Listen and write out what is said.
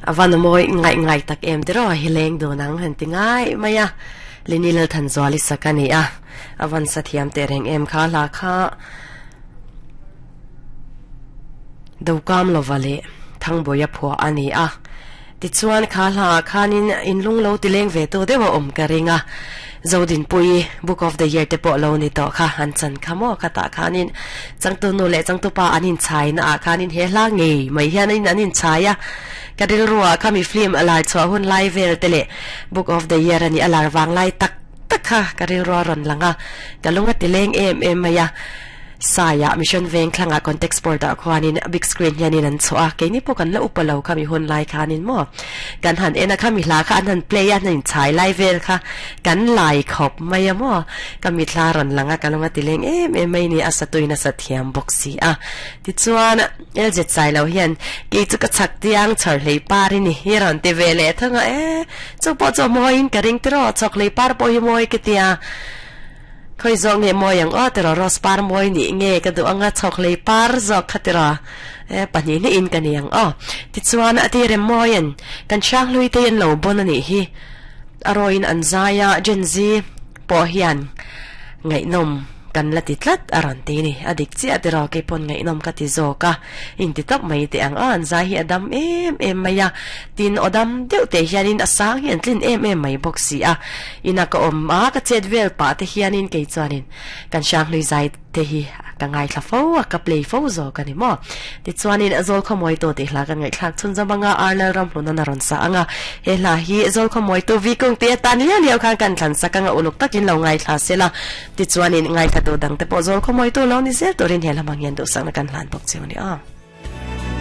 A van mawi ngaih ngai tak em tiraw hi leng dun ang han ti ngai mai a, Lini Lalthanzuali sak a ni a, a van sa thiam teh reng em kha hla kha Dokam lova leh Thangbuaia phuah a ni a, tichuan kha hla ah khanin inlung lo ti leng ve tu deuh a awm ka ring a, Zodinpuii Book of the Year te pawh lo ni tawh kha an chan kha maw khatah khanin changtu nu leh changtu pa an inchhai na ah khanin he hla ngei mai hian an inchhai a, ka rilru ah kha mi film a lar chhuah hun lai vel te leh Book of the Year a nih a lar vang lai tak tak kha ka rilru a rawn lang a, ka lung a ti leng em em mai a. Saia Mission Veng thlangah Context Board ah khuanin big screen hianin an chhuah a, keini pawh kan la upa lo kha mi hun lai khanin maw kan han en a kha mi hla kha an han play a an han inchhai lai vel kha kan lai khawp mai a maw ka mithla rawn lang a ka lung a ti leng em em mai ni a satuin a sa thiam bawk si a tichuan LZ Sailo hian kei chu ka chhak tiang chhawr hlei par i ni hi rawn ti ve leh thung a e chu pawh chu a mawiin ka ring tiraw chhawk hlei par pawh hi mawi ka tia. Khawi zawk nge mawi ang aw tiraw rose par mawi nih nge ka duh anga chhawk hlei par zawk kha tiraw e pahnih hnih in ka ni ang aw tichuan a ti rem mawi an kan hranghlui te an lo bawn a nih hi a rawiin an zai a Gen Z pawh hian ngaihnawm kan la ti tlat a rawn ti ni a dik chiah tiraw keipawn ngaihnawm ka ti zawk a in ti tawp mai teh ang aw an zai hi a dam em em mai a tin aw dam deuh teh hianin a sang hi an tlin em em mai bawk si a. Ina ka awm a, ka chet vel pah te hianin kei chuanin kan Hranghlui zai te hi ka ngaithla fo a, ka play fo zawk a ni maw. Tichuanin Zawlkhawmawitu tih hla kan ngaihthlak chhun zawm anga Arnel Ramhluna a rawn sa ang a, he hla hi Zawlkhawmawitu Vikung tih atan liau liau khan kan thlan sak anga uluk takin lo ngaithla sela, tichuanin ngaithlatu dangte pawh Zawlkhawmawitu lo ni zel turin he hla hmang hian duhsakna kan hlan bawk cheu a ni aw.